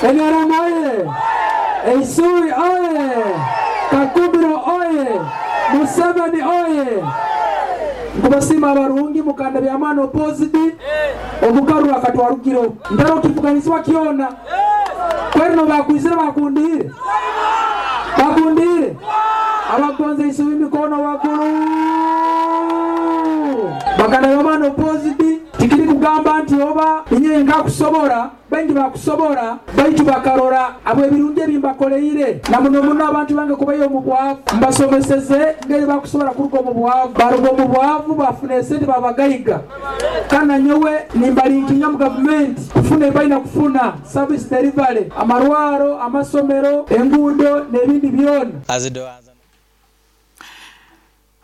NRM oye! Eisui oye! Kakumiro oye! Museveni oye! Nkubasiima abarungi mukanda by'amaani opposed omukaruru akatwarugireho ntaro kivuganizibwa kyona kwerino bakwizire bakundiire bakundiire abagonza Eisubi mikono waggulu bakanda by'amaani opposed tikiri kugamba nti oba inye nkakusobora baingi bakusobora baitu bakarora abo ebirungi ebimbakoleire na muno muno abantu bange kubayo omu bwavu mbasomeseze ngeri bakusobora kuruga omu bwavu baruga omu bwavu bafuna esente babagaiga kandi nanyowe nimbalinkinga mu gavumenti kufuna ebibalina kufuna service delivery amarwaro amasomero enguudo n'ebindi byona.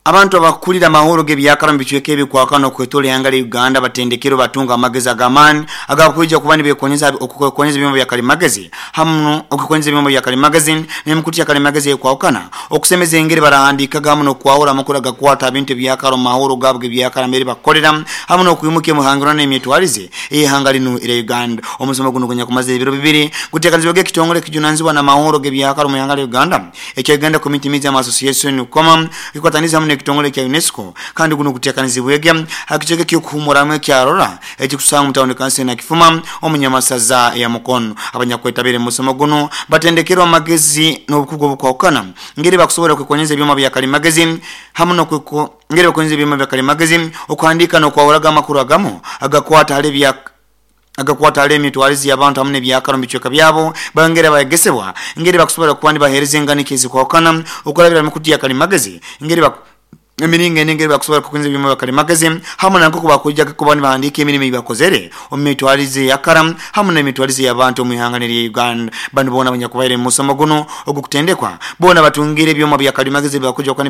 Abantu abakukulira amahoro g'ebyakara mu bicweka ebikwakana okwetoora ihanga lya Uganda batendekerwe batunga amagezi ag'amaani agakwija kuba nibekonyeza okukonyeza ebyoma bya kalimagezi hamu okukonyeza ebyoma bya kalimagezi n'emikutu ya kalimagezi ekwahukana okusemeza engeri barahandikaga hamu n'okwahura amakuru agakwata ebintu ebyakara omu mahoro gaabo g'ebyakara mbere bakukolera hamu n'okwimuka emihangirano n'emyetwarize ey'ihanga linu erya Uganda. Omusomo guno gunyakumaze ebiro bibiri guteekanizibwege ekitongole ekijunanizibwa n'amahoro g'ebyakara omu ihanga lya Uganda ekya Uganda Community Museum Association UCOMA kikwataniza hamu n'ekitongole kya UNESCO kandi guno guteekanizibwege ha kicweka eky'okuhumuramu ekyarora ekikusangwa mu tawuni kanso Nakifuma omu Nyamasaza ya Mukono. Abanyakwetabire mu musomo guno batendekerwe amagezi n'obukugu obukwahukana ngeri bakusobora kwekonyeza ebyoma bya kalimagezi hamu n'okweko ngeri bakonyeza ebyoma bya kalimagezi okuhandiika n'okwahuraga amakuru agamu agakwata hali ebya agakwata hali emitwarize y'abantu hamu n'ebyakara omu bicweka byabo bongera bayegesebwa ngeri bakusobora kuba nibaheereza enganikyo ezikwahukana okurabira mikutu ya kalimagezi ngeri emiringo ene engeri bakusobora kukunza ebyoma bya kalimagezi hamu na nk'oku bakwija kuba nibahandiika emirimu ei bakozere omu mitwarize eyakara hamu n'emitwarize y'abantu omu ihanga erya Uganda. Banu boona abanyakubaire mu musomo guno ogw'okutendekwa boona batungire ebyoma bya kalimagezi ebibakwija kuba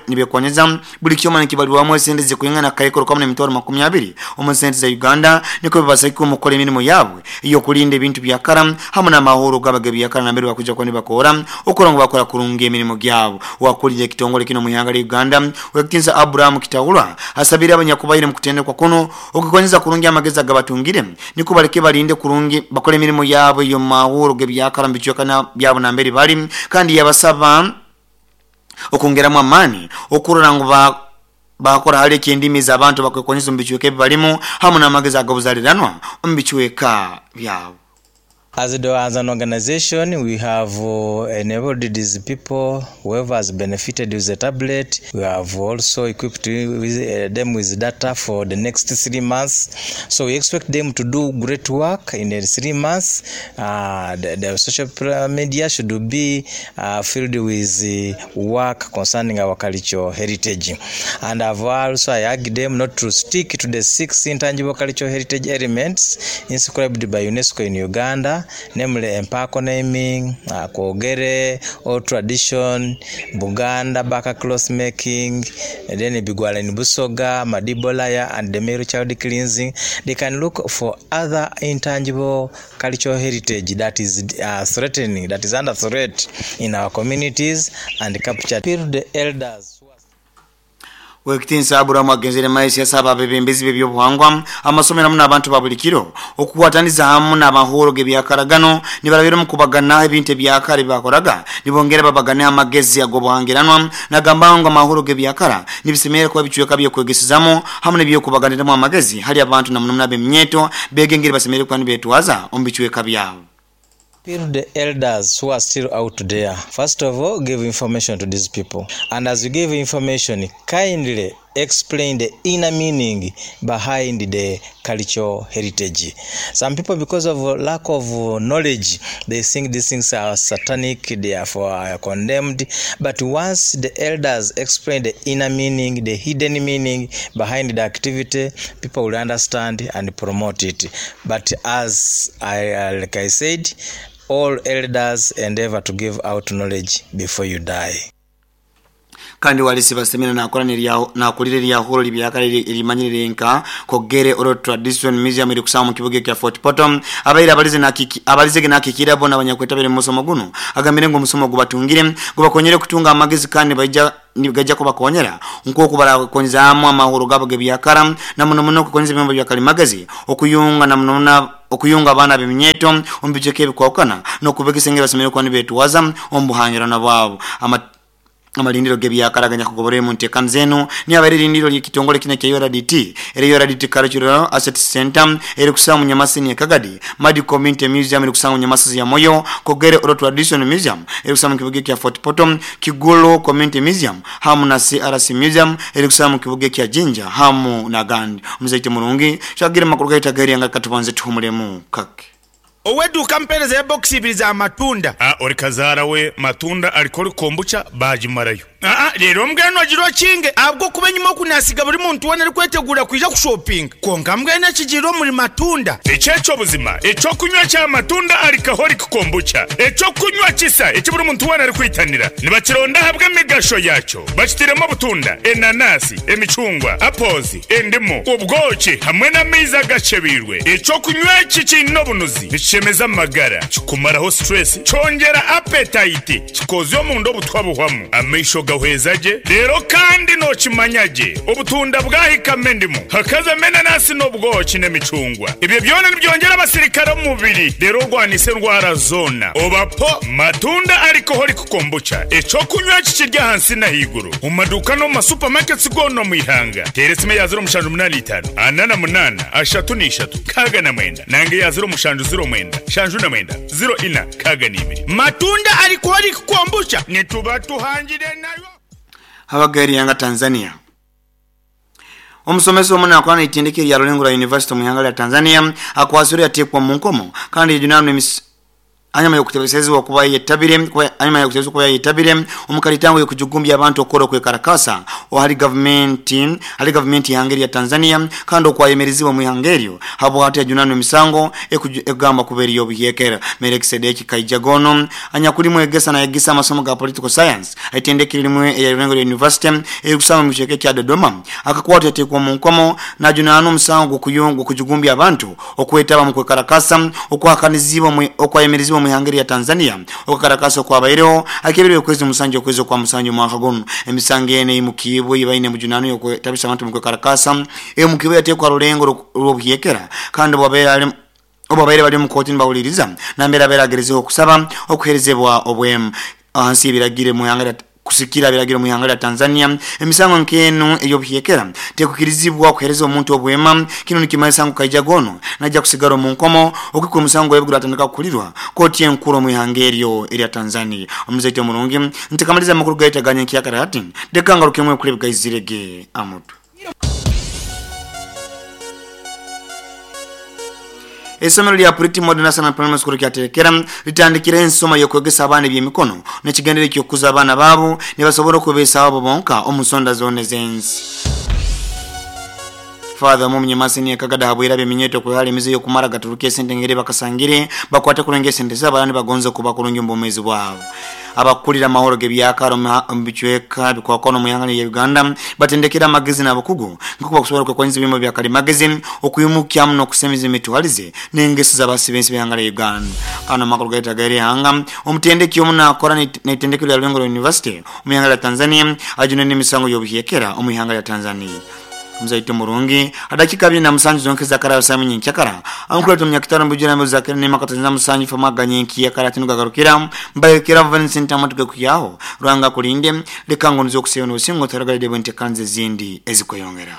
nibyekonyeza buli kyoma nikibalirwamu esente zikwingana akaikuru kamu n'emitwaro 20 omu sente za Uganda nikwo bibasagike omu kukora emirimu yaabwe ey'okulinda ebintu byakara hamu n'amahoro gabo ag'ebyakara nambere bakwija kuba nibakora okukora ngu bakora kurungi emirimu gyabo. Wakulira ekitongole kinu omu ihanga lya Uganda Owekitinisa Abraham Kitahurwa asabire abanyakubaire mu kutendekwa kuno okukonyeza kurungi amagezi agabatungire nikwo baleke balinde kurungi bakole emirimu yaabo ey'omu mahuro g'ebyakara mu bicweka byabo nambere bali kandi yabasaba okwongeramu amaani okurora ngu bakora hali eky'endimi z'abantu bakwekonyeza omu bicweka ebi balimu hamu n'amagezi ag'obuzaliranwa omu bicweka byabo. As the, as an organization, we have enabled these people, whoever has benefited with the tablet, we have also equipped with, them with data for the next 3 months. So we expect them to do great work in the 3 months. The social media should be filled with work concerning our cultural heritage. And I've also I urge them not to stick to the six intangible cultural heritage elements inscribed by UNESCO in Uganda, namely Empaako naming, Kwogere, old tradition, Buganda bark cloth making, and then Bigwala in Busoga, Madibolaya, and the male child cleansing. They can look for other intangible cultural heritage that is threatening, that is under threat in our communities and capture the elders. Owekitinisa Aburahamu agenzere maiso yasaba abebembezi b'ebyobuhangwa amasomero hamu n'abantu ba buli kiro okukwataniza hamu n'amahoro g'ebyakaragano nibarabira omu kubaganaho ebintu ebyakara ebibakoraga nibongera babaganeho amagezi ag'obuhangiranwa nagamba ngu amahoro g'ebyakara nibisemerera kuba bicweka by'okwegesezamu hamu n'ebyokubaganiramu amagezi hali abantu na muno muno ab'eminyeto beege engeri basemerere kuba nibetwaza omu bicweka byabo. Appeal the elders who are still out there. First of all, give information to these people. And as you give information, kindly explain the inner meaning behind the cultural heritage. Some people, because of lack of knowledge, they think these things are satanic, therefore are condemned. But once the elders explain the inner meaning, the hidden meaning behind the activity, people will understand and promote it. But as I, like I said, all elders endeavor to give out knowledge before you die. Kandi Walisi Basemera nakora nakulira eryahuro libyakara erimanyirire nka Kogere Oral Tradition Museum iri kusanga mu kibuga kya Fort Portal. Abaire abalize nakiki abalizege nakikira bona abanyakwetabire mu musomo guno agambire ngo omusomo gubatungire gubakonyere kutunga amagezi kandi baija nigajja kubakonyera nkoku barakonzaamu amahoro gabo gebyakara na muno muno kukonza ebyombo bya kalimagezi okuyunga na muno muno okuyunga abaana b'eminyeto omu bicweka ebikwahukana n'okubegesa engeri basemeriire kuba nibeetwaza omu buhangirana bwabo. Amalindiro gebyakara ganyakugobora mu nteekaniza zenu niabaire erindiro ly'ekitongole kino ekya URDT era URDT Cultural Asset Center eri kusanga mu Nyamasini e Kagadi, Madi Community Museum eri kusanga mu Nyamasisi ya Moyo, Kogere Oral Tradition Museum eri kusanga mu kibuga kya Fort Portal, Kigulu Community Museum hamu na CRC Museum eri kusanga mu kibuga kya Jinja hamu na Gandi. Omuzaite murungi shagira makuru gaita gari anga katubanze tuhumulemu kake. Oweduuka mpereza ebokisi ibiri za matunda. Ah, ori kazaara we matunda alikori kombucha bagimarayo. Aa, rero mbwenu ogira okinge ahabw'okuba enyima okunasiga buri muntu weena arikwetegura kwija kushopinga. Kwonka mbwenu ekigiire omuri matunda. Eky'eky'obuzima ekyokunywa kya matunda alikaholic kombucha, ekyokunywa kisa eki buri muntu weena arikwitanira. Nibakironda ahabw'emigasho yakyo, bakitiremu obutunda, enanasi, emicungwa, apples, endimu, obwoki hamwe n'amaizi agacebeirwe. Ekyokunywa eki kiine obunuzi, nikishemeza amagara, kikumaraho stress, kyongera appetite, kikozya omunda obutwa buhwamu, amaisho gahweza gye. Rero kandi nokimanya gye, obutunda bwahikamo endimu, hakazamo enanasi n'obwoki n'emicungwa. Ebyo byona nibyongera abasirikare omu mubiri, rero orwanisa endwara zoona. Obapo matunda alcoholic kombucha, ekyokunywa kikiri ahansi n'ahaiguru omu maduuka n'omu masupamaketi goona omu ihanga. Teera esimu eya 0785 48 33 69 nange eya 0709 79 04 62. Matunda alcoholic kombucha nituba tuhangire nayo. Abagari yanga Tanzania. Omusomesa omu naakora n'eitendekero erya Rulengura University omu ihanga lya Tanzania akwasirwe yateekwa mu nkomo kandi yajunaanwa hanyuma y'okutebesezebwa kuba yetabire hanyuma y'okutebesezebwa kuba yetabire omu kalitango y'okujugumbya abantu okukora okwekarakasa ahari gavumenti y'ihanga erya Tanzania kandi okwayemerezibwa mu ihanga eryo habwati yajunaanwa emisango ekugamba kuba eri obuhyekera. Melkisedeki Kaijagono anyakuri mwegesa nayegesa amasomo ga political science aitendekero rimwe erya Rulengura University erikusanga mu kicweka kya Dodoma akakwatwa yateekwa mu nkomo najunaanwa omusango gw'okujugumbya abantu okwetaba mu kwekarakasa okwakanizibwa okwayemerezibwa mu ihanga lya Tanzania okukarakasa okwabaireho akebere okwezi musanju okwezi kwa musanju mwaka guno. Emisango ene imukibwe ibaine mujunano yokwetabisa abantu mu kwekarakasa emukibwe yateekwa Rulengo rw'obuhyekera kandi obabaire bali mu kooti nibawuliriza nambera beragerezeho okusaba okuherezebwa obwemu ahansi y'ebiragiro mu ihanga lya kusikira biragiro mu ihanga lya Tanzania. Emisango nk'eno ey'obuhyekera tekukirizibwa okuhereza omuntu obwema. Kino nikimanyisa ngu Kaijagono najja kusigara omu nkomo okukwa omusango gwebwe atandika kukulirwa kooti enkuru omu ihanga eryo erya Tanzania. Omuzaite omurungi ntikamaliza amakuru gaitaganya nkiyakara hati ndeka ngarukemu ekuri gaizirege amutu. Esomero lya Pretty Modern National Primary School kyaterekera litandikira ensoma y'okwegesa abaana eby'emikono n'ekigendere ky'okukuza abaana baabo nibasobola okubeesawo bo bonka omu nsonda zonna ez'ensi. Father Mumunyamasini akagada habwera byeminyeto kwehali emize y'okumara gaturuka esente ngeri bakasangire bakwate kulonga esente zabo abandi bagonze kuba kulungi mu bwomeezi bwabo. Abakulira amahoro gebyakaro mu bicweka bikwakona mu ihanga lya Uganda batendekera amagezi n'abakugu nkuko bakusobola kwekwanyiza ebyoma bya kalimagezi okuyimukyamu n'okusemiza emitwalize n'engeso z'abasibensi b'ihanga lya Uganda. Kano amakuru gaita gari ihanga omutendeki omu naakora n'eitendekero lya Rulengura University omu ihanga lya Tanzania ajunwa n'emisango y'obuhyekera omu ihanga lya Tanzania. Mzaito murungi adakika 27 zonke zakara samu nyinkakara ankuleta munyakitaro mbujira muzakira ne makatanza musanju famaganye nkiyakara tinugagarukira mbayekera Vincent amatuke kuyaho rwanga kulinde leka ngo nzo kuseyona osingo taragalide bwente kanze zindi ezikweyongera.